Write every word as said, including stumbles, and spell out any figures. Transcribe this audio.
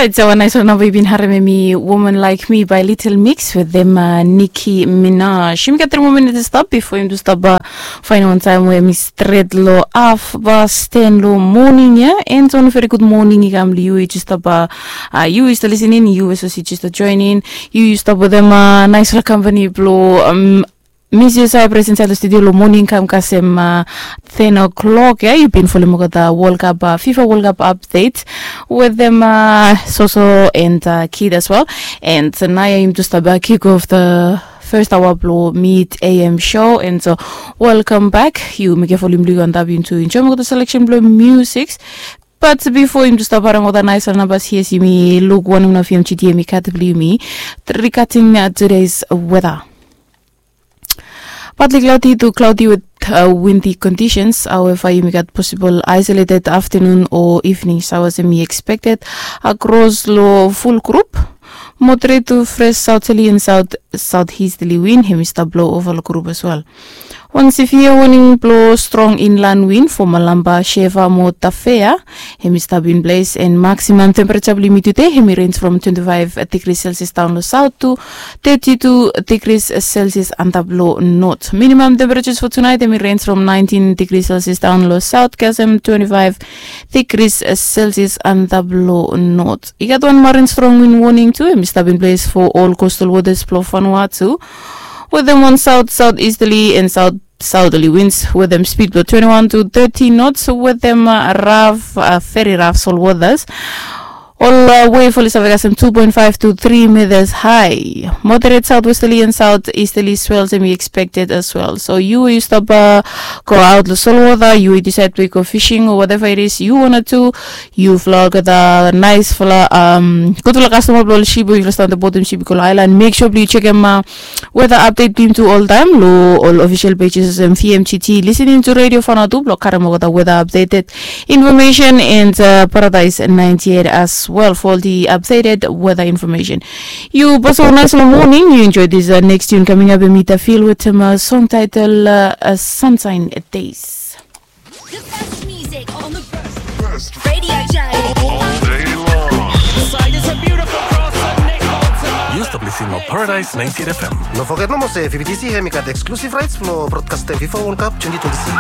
Orait, sawa naisfala namba yu bin harem, hemi Woman Like Me by Little Mix wetem Nicki Minaj. Yumi gat tri moa minit i stap bifo yumi tu stap faenem wan taem we hemi stret lo hafpas ten lo moning ya. And wan very good moning i kam lo yu, yu jes stap, yu yu stap lisening, yu we sapos yu jes stap joening, yu yu stap wetem naisfala kampani blo Miss Josiah, present insaed lo studio lo moning kam kasem ten o'clock ya. Yu bin folem olgeta World Cup, FIFA World Cup update wetem Soso and Kid as well. And naoia yumi tu stap kick off the first hour blo Mid A M show. And so, welcome back. Yu mekem folem blo yu antap yumi tu enjoem olgeta selection blo music. But bifo yumi tu stap harem olgeta naisfala nambas, yes, yumi luk wanem nao V M G T hemi gat blo yumi regarding today's weather. Partly cloudy to cloudy with windy conditions. However, yumi gat possible isolated afternoon or evening showers hemi expected across lo ful grup. Moderate to fresh southerly and south southeasterly wind hemi stap blo ova lo grup as well. Wan severe warning blo strong inland wind fo Malampa, Shefa mo Tafea hemi stap in place, and maximum temperature blo yumi tude hemi range from twenty-five degrees Celsius daon lo south to thirty-two degrees Celsius antap lo north. Minimum temperatures fo tonight hemi range from nineteen degrees Celsius daon lo south kasem twenty-five degrees Celsius antap lo north. I gat wan marine strong wind warning tu hemi stap in place fo ol coastal waters blo Vanuatu wetem wan south southeasterly and south southerly winds wetem speed blo twenty-one to thirty knots wetem raf, very raf sol waters. Ol wave oli save kasem two point five to three meters high. Moderate southwesterly and southeasterly swells hemi expected as well. So yu we yu stap go aot lo solwota, yu we yu disaed blo yu go fishing o whatever it is yu wanted to, yufala olgeta naisfala, gudfala kastoma blo ol sip we yufala stap on the bottom sip i go lo aelan, mek sua blo yu jekem weather update blo yumi tu oltaem lo ol official pages olsem V M G T, listening to Radio Vanuatu blo karem olgeta weather updated information, and Paradise ninety-eight as well for the updated weather information. Yu basa wan naisfala moning, yu enjoy this next tune coming up, hemi Tafil wetem song title Sunshine Days. The best music on the best radio dial. All day long. Side is a beautiful cross and Nick Walter. Yu stap listening lo Paradise ninety-eight F M. No foget nomo se V B T C hemi gat exclusive rights blo broadcastem FIFA World Cup twenty twenty-six.